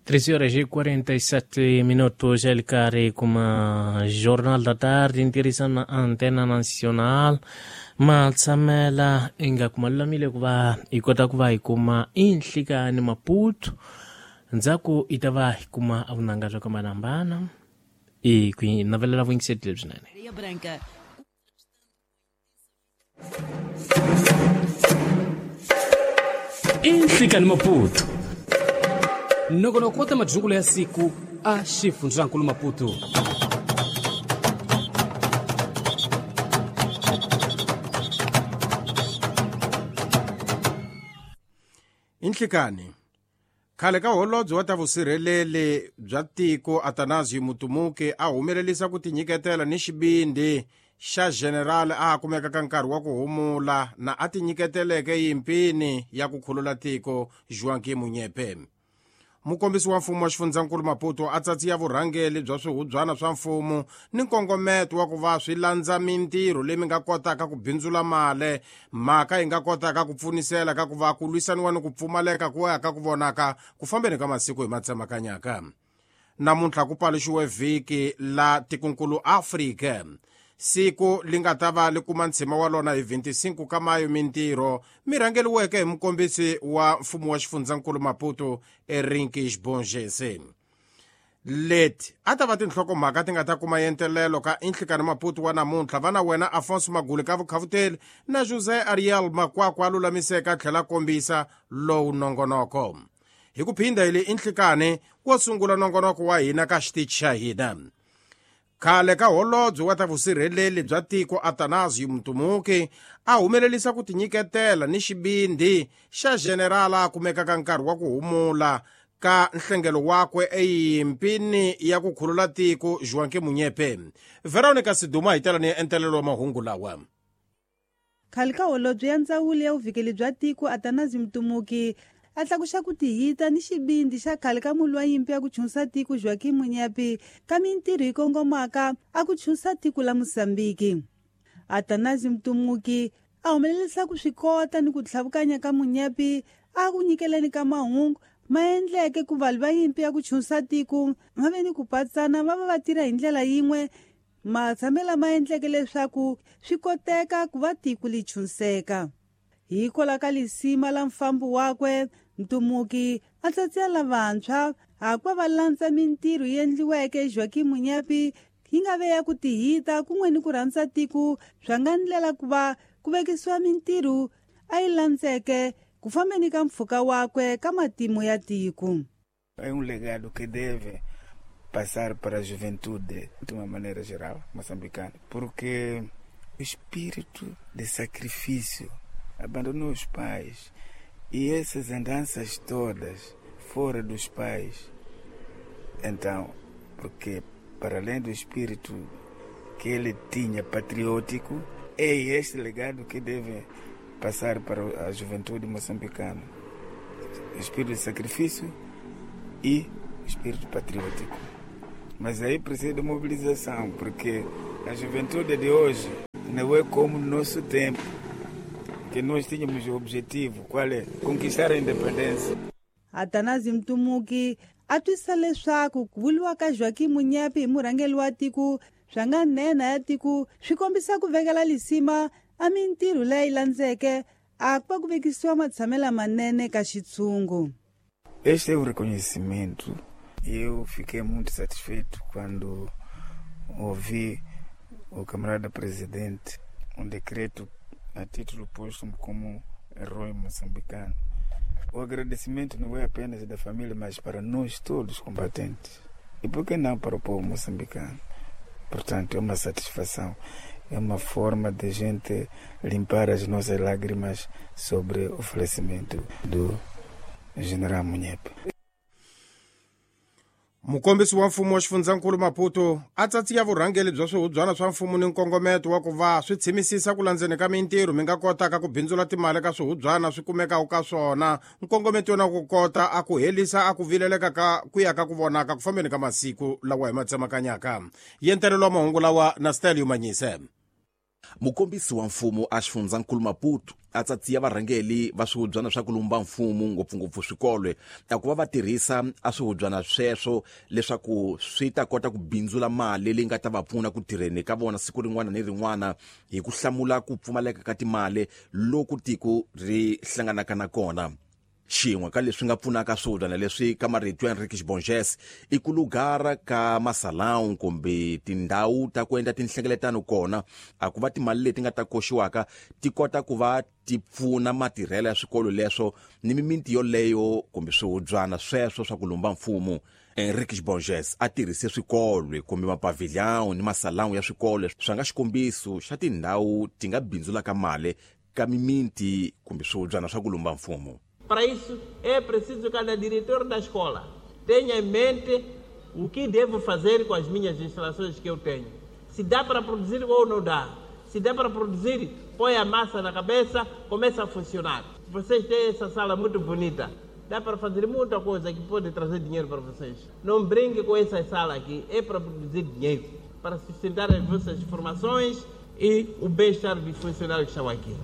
13 horas e 47 minutos, el carre kuma Jornal da Tarde, interessando na Antena Nacional. Matsamela inga kumalulamile ku va hi kota ku va hi kuma inhlikani Maputo, ndzhaku i ta va hi kuma vunanga byo hambanahambana i ku hi navelela vuyingiseri lebyinene. Areia Branca. Inhlikani Maputo, nongonoko wa ta madyungulo ya siku a xifundzankulu Maputo. Inhlikani, khale ka holobye wa ta vusirheleli bya tiko Atanasio Mutumuki a humelerisa ku tinyiketela ni xivindzi xa general a kumeka ka nkarhi wa ku humula na a tinyiketeleke yimpini ya ku khulula tiko Joaquim Munyepe. Mukombisi wa mfumo wa xifundzankulu Maputo a tsatsiya vurhangeli bya swihubyana swa mfumo ni nkongometo wa ku va swi landza mintirho leyi mi nga kotaka ku bindzula mali, mhaka yi nga kotaka ku pfunisela ka ku va ku lwisaniwa ni ku pfumaleka ku ya ka ku vonaka ku fambeni ka masiku hi matsemakanyaka. Namuntlha ku paluxiwe vhiki la tikonkulu Afrika, siku li nga ta va li kuma ntshima wa lona hi 25 ka mayo. Mintirho mi rhangeliweke hi mukombisi wa mfumo wa xifundzankulu Maputo Erinki Bongese. Leti a ta va tinhlokomhaka ti nga ta kuma yentelelo ka Inhlikani Maputo wa namuntlha. Va na wena Afonso Maguli ka vukhavuteli na José Ariel Makwakwa a lulamiseka a tlhela kombisa lowu nongonoko. Hi ku phinda hi le Inhlikani wo sungula nongonoko wa hina ka xitichi xa hina. Khale ka holobye wa ta vusirheleli bya tiko Atanasio Mutumuki a humelerisa ku tinyiketela ni xivindzi xa general a kumekaka nkarhi wa ku humula ka nhlengelo wakwe eyimpini ya ku khulula tiko Joaquim Munyepe. Veronica Siduma hi tela ni entelelo wa mahungu lawa. Khale ka holobye ya ndzawulo ya vuvikeli bya tiko Atanasio Mutumuki a tlakuxa ku tihita ni xivindzi xa khale ka mulwi wa nyimpi ya ku chunsa tiko Joaquim Munyepe ka mintirho yi kongomaka a ku chunsa tiko la Mozambique. Atanasio Mutumuki a humelerisa ku swi kota ni ku tlhavukanya ka Munyepe a ku nyikeleni ka mahungu ma endleke ku valwi va nyimpi ya ku chunsa tiko va ve ni ku patsana va va va tirha hi ndlela yin'we, matshamelo ma endleke leswaku swi koteka ku va tiko li chunseka. Hikwalaho ka lisima la mfambo wakwe, Mtumuki a tsatsela lavantshwa hakuva va landza mintirho yi endliweke Joaquim Munyepe yi nga ve ya ku tihita kun'we ni ku rhandza tiko swa nga ndlela ku va ku vekisiwa mintirho a yi landzeke ku fambeni ka mpfhuka wakwe ka matimu ya tiko. É um legado que deve passar para a juventude de uma maneira geral moçambicana, porque o espírito de sacrifício abandonou os pais e essas andanças todas fora dos pais. Então, porque para além do espírito que ele tinha patriótico, é este legado que deve passar para a juventude moçambicana. O espírito de sacrifício e o espírito patriótico. Mas aí precisa de mobilização, porque a juventude de hoje não é como no nosso tempo, que nós tínhamos o objetivo, qual é? Conquistar a independência. Atanasio Mtumuki a twisisa leswaku ku vuriwa ka Joaquim Munyepe hi murhangeri wa tiko swa nga nhenha ya tiko swi kombisa ku vekela lisima a mintirho leyi landzeke a ku va ku vekisiwa matshamelo manene ka xitshungu. Este é o reconhecimento. Eu fiquei muito satisfeito quando ouvi o camarada presidente um decreto a título póstumo como herói moçambicano. O agradecimento não é apenas da família, mas para nós todos combatentes. E por que não para o povo moçambicano? Portanto, é uma satisfação, é uma forma de gente limpar as nossas lágrimas sobre o falecimento do general Munyepe. Mukombisi wa mfumo wa xifundzankulu Maputo a tsatsiya vurhangeli bya swihubyana swa mfumo ni nkongometo wa ku va swi tshimisisa ku landzeni ka mintirho mi nga kotaka ku bindzula timali ka swihubyana swi kumekaka ka swona, nkongometo na ku kota a ku helisa a ku vileleka ka ku ya ka ku vonaka ku fambeni ka masiku lawa hi ma tsemakanyaka. Yentelelo wa mahungu lawa na Stelio Manyise. Mukombisi wa mfumo a xifundzankulu Maputo a tsatsiya varhangeli va swihubyana swa ku lumba mfumo, ngopfungopfu swikolo, a ku va va tirhisa a swihubyana sweswo leswaku swi ta kota ku bindzula mali leyi nga ta va pfuna ku tirheni ka vona siku rin'wana ni rin'wana, hi ku hlamula ku pfumaleka ka timali loku tiko ri hlanganaka na kona. Xin'we ka leswi nga pfunaka swihubyana leswi, ka marito ya Henriques Bonges, i ku lugara ka masalão kumbe tindhawu ta ku endla tinhlengeletano kona, a ku va timali leti nga ta koxiwaka ti kota ku va ti pfuna matirhelo ya swikolo leswo ni mimiti yoleyo kumbe swihubyana sweswo swa ku lumba mfumo. Henriques Bonges a tirhise swikolo kumbe mapavilhão ni masalão ya swikolo swa nga xikombiso xa tindhawu ti nga bindzulaka mali ka mimiti kumbe swihubyana swa ku lumba mfumo. Para isso é preciso que cada diretor da escola tenha em mente o que devo fazer com as minhas instalações que eu tenho. Se dá para produzir ou não dá. Se dá para produzir, põe a massa na cabeça, começa a funcionar. Vocês têm essa sala muito bonita. Dá para fazer muita coisa que pode trazer dinheiro para vocês. Não brinque com essa sala aqui, é para produzir dinheiro, para sustentar as vossas formações e o bem-estar dos funcionários que estão aqui.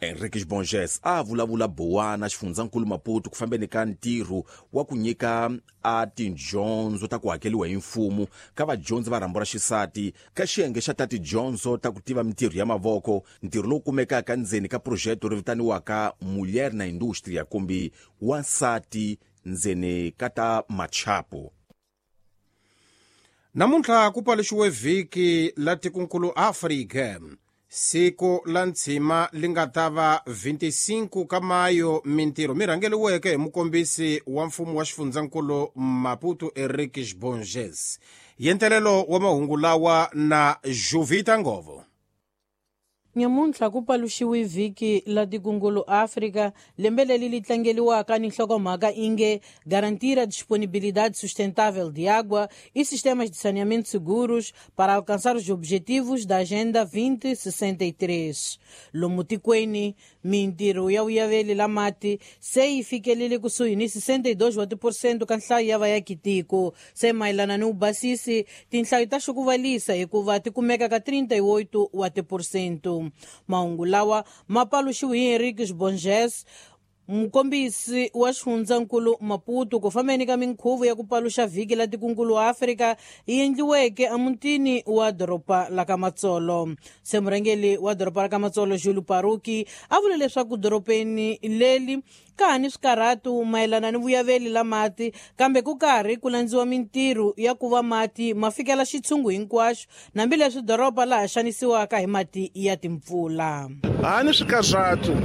Henriques Bonges a vulavula buwana xifundzankulu Maputo ku fambeni ka ntirho wa ku nyika a tidyondzo ta ku hakeliwa hi mfumo ka vadyondzi va rhambu ra xisati ka xiyenge xa ta tidyondzo ta ku tiva mintirho ya mavoko, ntirho lowu kumekaka ndzeni ka projeto ri vitaniwaka Mulher na Indústria kumbe Wansati ndzeni ka ta machapo. Namuntlha ku paluxiwe vhiki la tikunkulu Afrika, siku la ntshima li nga ta va 25 ka mayo. Mintirho mi rhangeliweke hi mukombisi wa mfumo wa xifundzankulu Maputo Henriques Bonges. Yentelelo wa mahungu lawa na Juvita Ngovo. Nyamuntlha ku paluxiwe vhiki la tikungulu Afrika, lembe leri li tlangeliwaka ni nhlokomhaka inge garantir a disponibilidade sustentável de água e sistemas de saneamento seguros para alcançar os objetivos da Agenda 2063. Lomu tikweni, mintirho ya vuyaveli la mati se yi fikelele kusuhi ni 62% ka nhlayo ya vayakitiko. Se mayelana ni vubasisi, tinhlayo ta xukuvalisa hikuva ti kumeka ka 38 wa tiphesente. Mahungu lawa ma paluxiwe hi Henriques Bonges, mukombisi wa xifundzankulu Maputo, ku fambeni ka minkhuvo ya ku paluxa vhiki la tikunkulu Afrika yi endliweke emutini wa doroba la ka Matsolo. Se murhangeri wa doroba ra ka Matsolo, Júlio Paruki, a vule leswaku dorobeni leri ka ha ni swikarhatu mayelana ni vuyaveli la mati, kambe ku karhi ku landziwa mintirho ya ku va mati ma fikela xitshungu hinkwaxo, hambileswi doroba laha xanisiwaka hi mati ya timpfula. Ha ni swikarhatu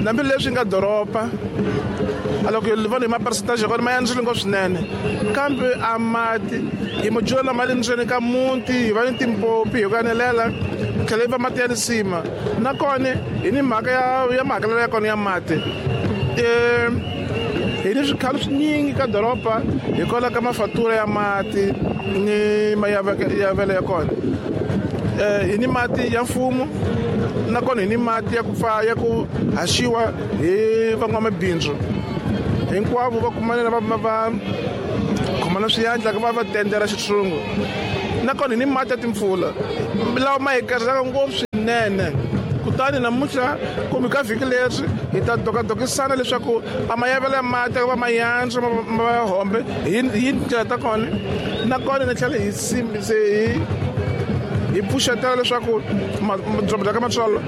hambileswi nga doroba, a loko hi vona hi ma-percentage ya kona ma yandzile ngopfu swinene, kambe a mati hi mo dyula ma le ndzeni ka muti, hi va ni timpopi hi ku anelela, tlhela yi va mati ya lisima. Nakona hi ni mhaka ya mahakelelo ya kona ya mati, hi ni swikhalo swinyingi ka doroba hikwalaho ka mafatura ya mati ni mayavelo ya kona. Hi ni mati ya mfumo, nakona hi ni mati ya ku pfa ya ku haxiwa hi van'wamabindzu hinkwavo va kumanela va khomana swiyandla ku va va tendela xitshungu. Nakona hi ni mati ya timpfula lawa ma hi karhisaka ngopfu swinene. Kutani namuntlha kumbe ka vhiki leri hi ta dokadokisana leswaku a mayavelo ya mati va ma yantswa ma va hombe hi tindlela ta kona. Nakona ni tlhela hi hi pfuxetela leswaku doroba ra ka Matsolo,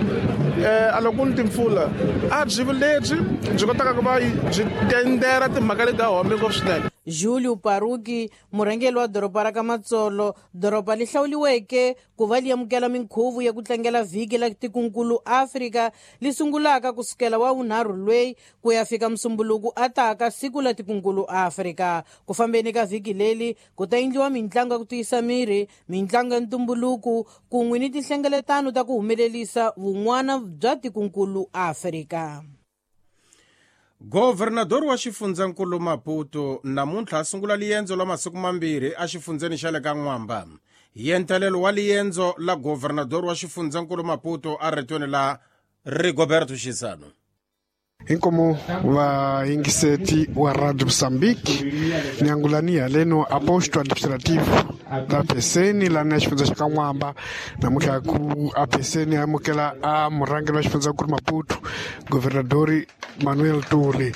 a loko ku ni timpfula a byi lebyi byi kotaka ku va byi tendera timhaka leti ta hombe ngopfu swinene. Júlio Paruki, murhangeri wa doroba ra ka Matsolo, doroba li hlawuliweke ku va li amukela minkhuvo ya ku tlangela vhiki la tikunkulu Afrika li sungulaka kusukela wa vunharhu lweyi ku ya fika musumbuluku ataka siku la tikunkulu Afrika. Ku fambeni ka vhiki leri ku ta endliwa mintlangu ya ku tiyisa miri, mintlangu ya ntumbuluko kun'we ni tinhlengeletano ta ku humelerisa vun'wana bya tikunkulu Afrika. Governador wa xifundzankulu Maputo namuntlha a sungula liendzo la masiku mambirhi exifundzeni xa le ka N'wamba. Yentelelo wa liendzo la governador wa xifundzankulu Maputo a ritweni la Rigoberto Xisano. Inkomo vayingiseti wa Radio Mozambique niangulani haleno a posto administrativo da PCN lani ya xifundza xa ka N'wamba. Namuntlha ku a PCN amukela a murhangeri wa xifundzankulu Maputo, Governador Manuel Tule.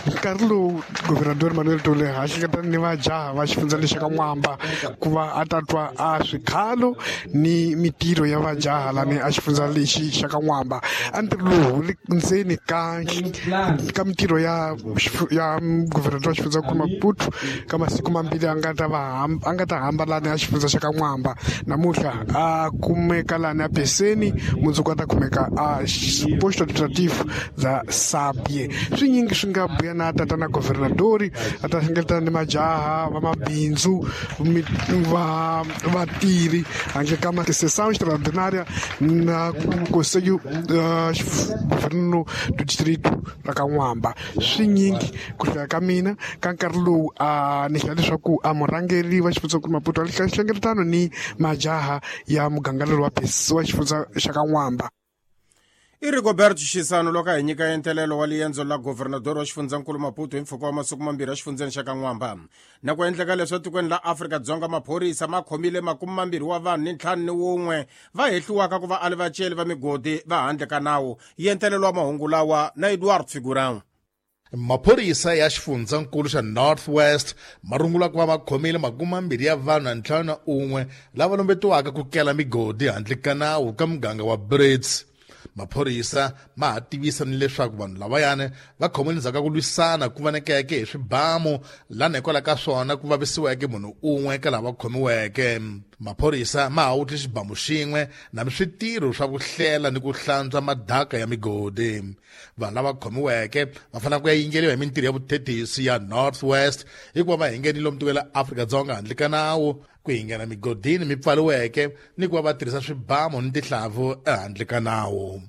Nkarhi lowu Governador Manuel Tule ha hleketana ni vajaha va xifundza lexi ka N'wamba ku va a ta twa a swikhalo ni mitirho ya vajaha lani a xifundza lexi xa ka N'wamba. A ntirho lowu wu le ndzeni ka mitirho ya Governador wa xifundzankulu Maputo ka masiku mambirhi a nga ta hamba lani a xifundza xa ka N'wamba. Namuntlha a kumeka lani a Peseni, mundzuku a ta kumeka a posto administrativo bya Sabie. Swinyingi swi nga buya na tatana Governadori, a ta hlengeletana ni majaha va mabindzu va vatirhi handle ka sessão extraordinária na Conselho Governo do Distrito ra ka N'wamba. Swinyingi ku hlaya ka mina ka nkarhi lowu a ni hlaya leswaku a murhangeri wa xifundzankulu Maputo a hlengeletano ni majaha ya muganga lowu wa xifundza xa ka N'wamba. I Rigoberto Xisano loko a hi nyika entelelo wa liendzo la Governador wa xifundzankulu Maputo hi mpfhuka wa masiku mambirhi exifundzeni xa ka N'wamba. Na ku endleka leswi etikweni la Afrika-Dzonga maphorisa ma khomile 21 wa vanhu ni 51 va hehliwaka ku va ali vaceli va migodi va handle ka nawu. Yentelelo wa mahungu lawa na Eduard Figurão. Maphorisa ya xifundzankulu xa North West ma rungula ku va va khomile 20 ya vanhu na 51 lava lombetiwaka ku kela migodi handle ka nawu ka muganga wa Brits. Maphorisa ma ha tivisa ni leswaku vanhu lavayani va khomile ndzhaku ka ku lwisana ku vonekeke hi swibamu lana hikwalaho ka swona ku vavisiweke munhu un'we ka lava khomiweke. Maphorisa ma ha wutli xibamu xin'we na switirho swa ku hlela ni ku hlantswa madaka ya migodi. Vanhu lava khomiweke va fanele ku ya yingeriwa hi mintirho ya vuthethisi ya North West hikuva va hingenile lomu tikweni la Afrika-Dzonga handle ka nawu, ku hingena migodini mi pfariweke ni ku va va tirhisa swibamu ni tihlavu ehandle ka nawu.